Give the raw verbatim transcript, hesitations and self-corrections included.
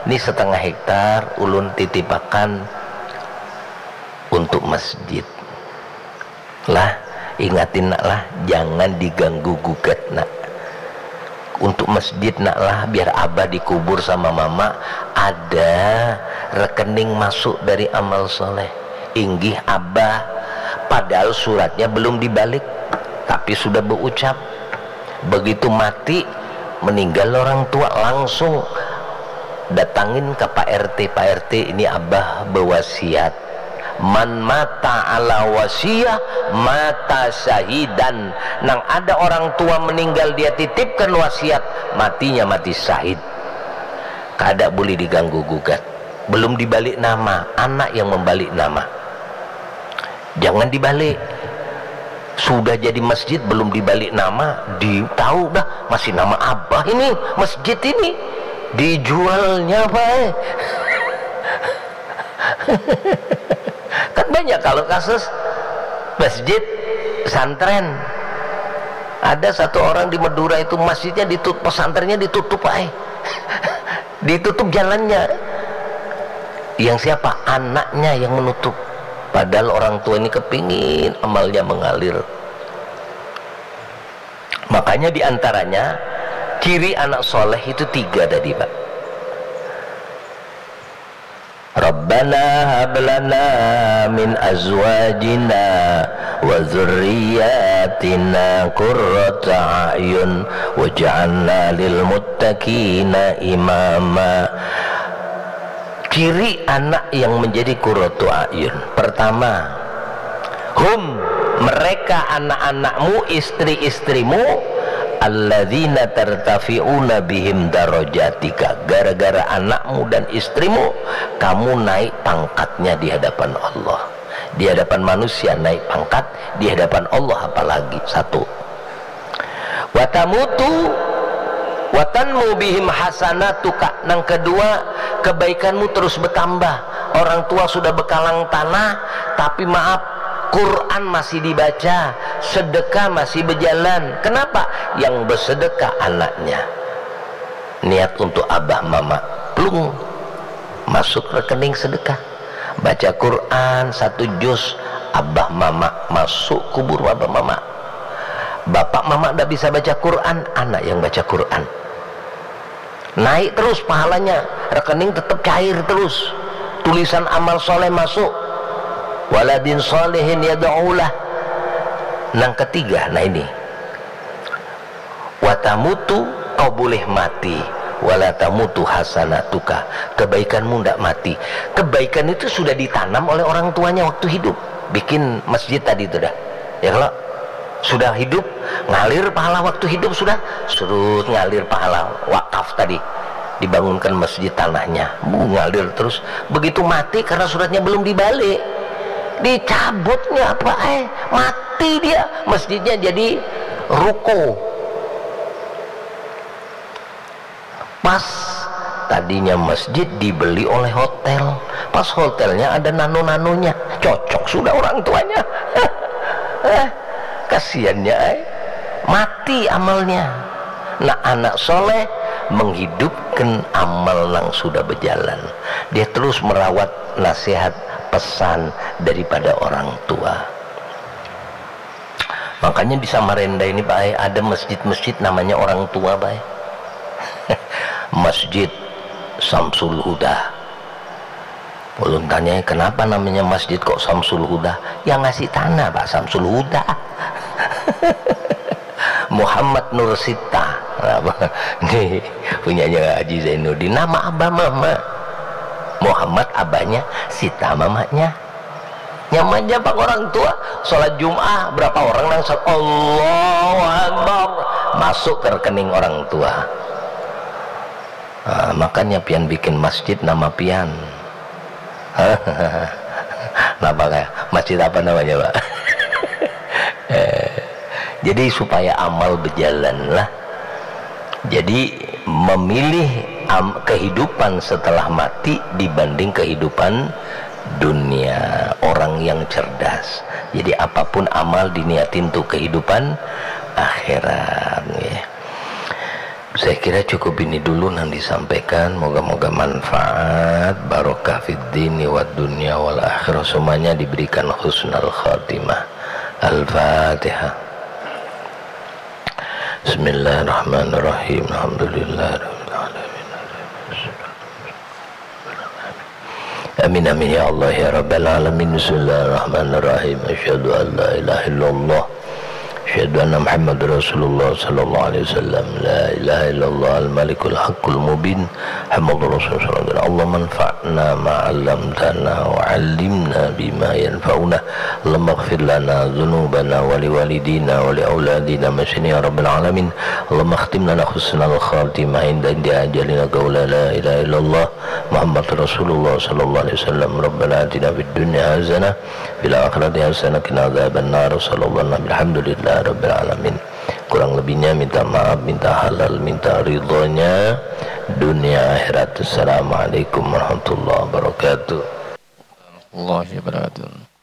Ini setengah hektar ulun titipakan untuk masjid. Lah, ingatin nak lah, jangan diganggu gugat nak. Untuk masjid nak lah, biar abah dikubur sama mama, ada rekening masuk dari amal soleh. Inggih abah, padahal suratnya belum dibalik, tapi sudah berucap. Begitu mati, meninggal orang tua, langsung datangin ke Pak R T, "Pak R T, ini abah bewasiat. Man mata ala wasiyah, mata syahidan." Nang ada orang tua meninggal, dia titipkan wasiat, matinya mati syahid. Kada boleh diganggu gugat. Belum dibalik nama, anak yang membalik nama. Jangan dibalik. Sudah jadi masjid, belum dibalik nama, di tahu dah, masih nama abah ini, masjid ini. Dijualnya apa, eh? Kan banyak kalau kasus masjid pesantren. Ada satu orang di Madura itu, masjidnya ditutup, pesantrennya ditutup, eh. Ditutup jalannya. Yang siapa? Anaknya yang menutup. Padahal orang tua ini kepingin amalnya mengalir. Makanya diantaranya ciri anak soleh itu tiga tadi, Pak. Rabbana hablana min azwajina wa dzurriyyatina qurrata a'yun waj'alna lil muttaqina imama. Ciri anak yang menjadi qurratu a'yun. Pertama, hum, mereka anak-anakmu, istri-istrimu, alladzina tartafi'una bihim darajatika. Gara-gara anakmu dan istrimu, kamu naik pangkatnya di hadapan Allah. Di hadapan manusia naik pangkat, di hadapan Allah apalagi. Satu. Watamutu watanmu bihim hasanatuka. Nang kedua, kebaikanmu terus bertambah. Orang tua sudah bekalang tanah, tapi maaf, Quran masih dibaca, sedekah masih berjalan. Kenapa? Yang bersedekah anaknya. Niat untuk abah mama, plung, masuk rekening sedekah. Baca Quran satu juz, abah mama, masuk kubur abah mama. Bapak mama ndak bisa baca Quran, anak yang baca Quran. Naik terus pahalanya, rekening tetap cair terus. Tulisan amal soleh masuk. Waladin solehin yad'ulah. Nang ketiga, nah ini. Watamutu, kau boleh mati. Wala tamutu hasanatuka. Kebaikanmu ndak mati. Kebaikan itu sudah ditanam oleh orang tuanya waktu hidup. Bikin masjid tadi itu dah. Ya kalau sudah hidup, ngalir pahala waktu hidup sudah, surut ngalir pahala wakaf tadi. Dibangunkan masjid tanahnya, bu, ngalir terus. Begitu mati karena suratnya belum dibalik, dicabutnya apa, eh, mati dia. Masjidnya jadi ruko. Pas tadinya masjid dibeli oleh hotel. Pas hotelnya ada nano-nanonya. Cocok sudah orang tuanya. Eh, kasihannya, eh. Mati amalnya. Nah, anak soleh menghidupkan amal nang sudah berjalan. Dia terus merawat nasihat pesan daripada orang tua. Makanya di Samarinda ini, Pak, ada masjid-masjid namanya orang tua, Pak. Masjid Samsul Huda. Ulun tanya, "Kenapa namanya masjid kok Samsul Huda?" Yang ngasih tanah, Pak, Samsul Huda. Muhammad Nur Sita. Nah, ini punyanya Haji Zainuddin. Nama abah mama. Muhammad abahnya, Sita mamanya. Nyamannya pak orang tua, sholat Jum'ah, berapa orang nang sholat, Allahu Akbar, masuk ke rekening orang tua. Nah, makanya pian bikin masjid nama pian. Kenapa kayak masjid apa namanya, Pak? Eh, jadi supaya amal berjalan lah. Jadi memilih am, kehidupan setelah mati dibanding kehidupan dunia, orang yang cerdas. Jadi apapun amal diniatin untuk kehidupan akhirat, ya. Saya kira cukup ini dulu yang disampaikan. Moga-moga manfaat, barokah fid dini wad dunya wal akhirah. Semuanya diberikan husnul khatimah. Al-Fatihah. Bismillahirrahmanirrahim. Alhamdulillahirabbil alamin. Amin, amin, ya Allah, ya Rabbal Alamin. Bismillahirrahmanirrahim. Asyhadu an la ilaha illallah. Asyhadu anna Muhammadar Rasulullah sallallahu alaihi wasallam. La ilaha illallah al-malikul haqqul mubin. Muhammadur Rasulullah sallallahu alaihi wasallam. Allahumma anfa'na ma 'allamtana wa 'allimna bima yanfa'una. Allahumma ighfir lana dzunubana wa liwalidina wa liauladina. Amin, ya Rabbal Alamin. Allahumma khtim lana husnal khatimah inda, inda ajalina qaula la ilaha illallah Muhammad Rasulullah sallallahu alaihi wasallam. Rabbana atina fid dunya hasanah, fil akhirati hasanah, qina adzabannar. Sallallahu alaihi, alhamdulillah rabbil alamin. Kurang lebihnya minta maaf, minta halal, minta ridhonya dunia akhirat. Assalamualaikum warahmatullahi wabarakatuh. Warahmatullahi wabarakatuh.